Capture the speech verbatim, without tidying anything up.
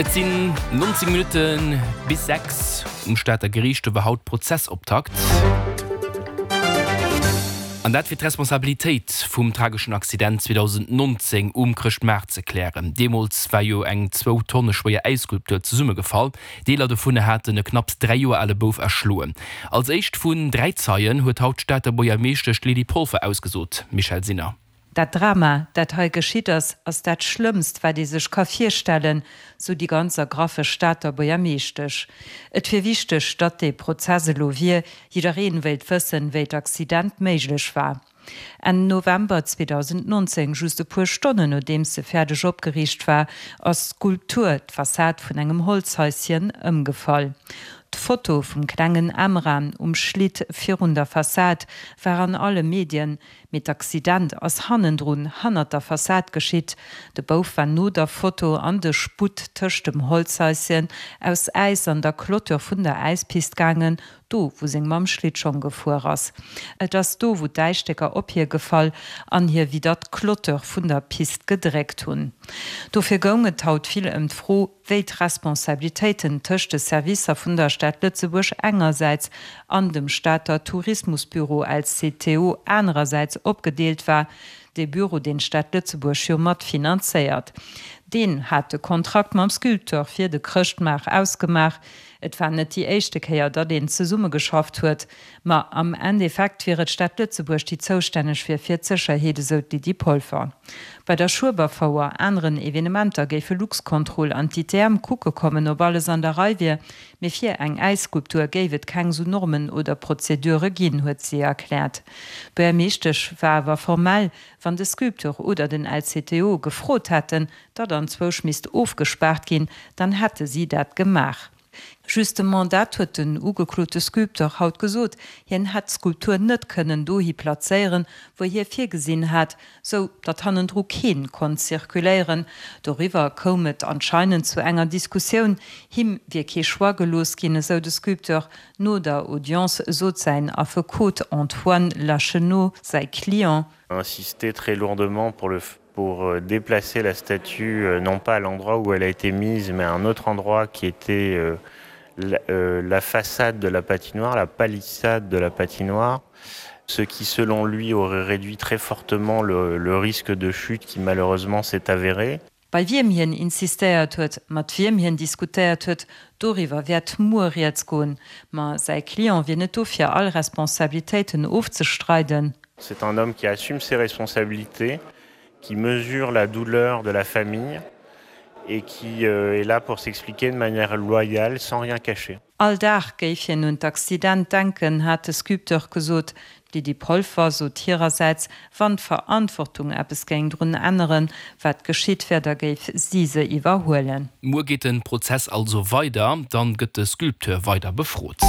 Et sinn nonzéng Minutte bis sechs. Um Stater Geriicht do war haut Prozessoptakt. An dat fir d'Responsabilitéit vum trageschen Accident zweedausendnonzéng um Chrëschtmaart ze klären. Deemools war jo eng zwou Tonne schwéier Äisskulptur zesummegefall. Deeler dovun haten e knapps dräi Joer ale Bouf erschloen. Als éischt vun dräi Zeien huet haut d'Stater Buergermeeschtesch Lydie Polfer ausgesot. Michèle Sinner. Dat Drama, dat hei geschitt ass, ass dat Schlëmmst, wat ee sech ka virstellen, sou déi ganz ergraff Stater Buergermeeschtesch. Et wier wichteg, datt dee Prozess elo wier, jiddereen wéilt wëssen, wéi d'Accident méiglech war. Enn November zweedausendnonzéng, just e puer Stonnen nodeems se fäerdeg opgeriicht war, ass d'Skulptur, d'Fassad vun engem Holzhaischen, ëmgefall. D'Foto vum klengen Emran um Schlitt virun der Fassad war an alle Medien, mee d'Accident ass hannendrun, hannert der Fassad geschitt. De Bouf war no der Foto an de Sputt tëscht dem Holzhaischen aus Äis an der Clôture vun der Äispist gaangen, do wou seng Mamm Schlittschong gefuer ass. Et ass do wou d'Äisstécker op hie gefall an hie widder d'Clôture vun der Pist gedréckt hunn. Dofir goung et haut vill ëm d'Fro, wéi d'Responsabilitéiten tëscht de Servicer vun der Stad Lëtzebuerg engersäits an dem Stater Tourismusbüro, L C T O, anerersäits opgedeelt war, dee Büro, deen d'Stad Lëtzebuerg jo mat finanzéiert. Deen hat de Kontrakt mam Sculpteur fir de Chrëschtmaart ausgemaach. Et war net déi éischte Kéier, datt een zesummegeschafft huet, ma am Endeffekt wier et d'Stad Lëtzebuerg, déi zoustänneg wier fir d'Sécherheet, esou d'Lydie Polfer. Bei der Schueberfouer, aneren Evenementer géife Luxcontrol an d'I T M kucke kommen, ob alles an der Rei wier, mee fir eng Äisskulptur géif et keng sou Normen oder Prozedure ginn, huet si erkläert. D'Buergermeeschtesch war awer formell, wann de Sculpteur oder den L C T O gefrot hätten, datt anzwousch misst ofgespaart ginn, dann hätte si dat gemaach. Justement dat huet den ugeklote Sculpteur haut gesot, hien hätt d'Skulptur net kënnen dohi plazéieren, wou hie virgesinn hat, sou datt hannendru keen konnt zirkuléieren. Doriwwer koum et anscheinend zu enger Diskussioun, him wier kee Choix gelooss ginn, esou de Sculpteur. No der Audience sot säin Affekot Antoine Lachenau, säi Client insisté très lourdement pour le pour déplacer la statue non pas à l'endroit où elle a été mise, mais à un autre endroit qui était la, euh, la façade de la patinoire, la palissade de la patinoire, ce qui selon lui aurait réduit très fortement le, le risque de chute qui malheureusement s'est avéré. Bei wiem hien insistéiert huet, mat wiem hien diskutéiert huet, doriwwer wäert muer rieds goen. Ma säi Client wier net do fir all Responsabilitéiten ofzestreiden. C'est un homme qui assume ses responsabilités, qui mesure la douleur de la famille et qui euh, est là pour s'expliquer de manière loyale, sans rien cacher. All Dag géif hien un d'Accident denken, hat de Sculpteur gesot. D'Lydie Polfer sot hirersäits, wann d'Verantwortung eppes géing drun änneren, wat geschitt wär, da géif si se iwwerhuelen. Muer geet de Prozess also weider, dann gëtt de Sculpteur weider befrot.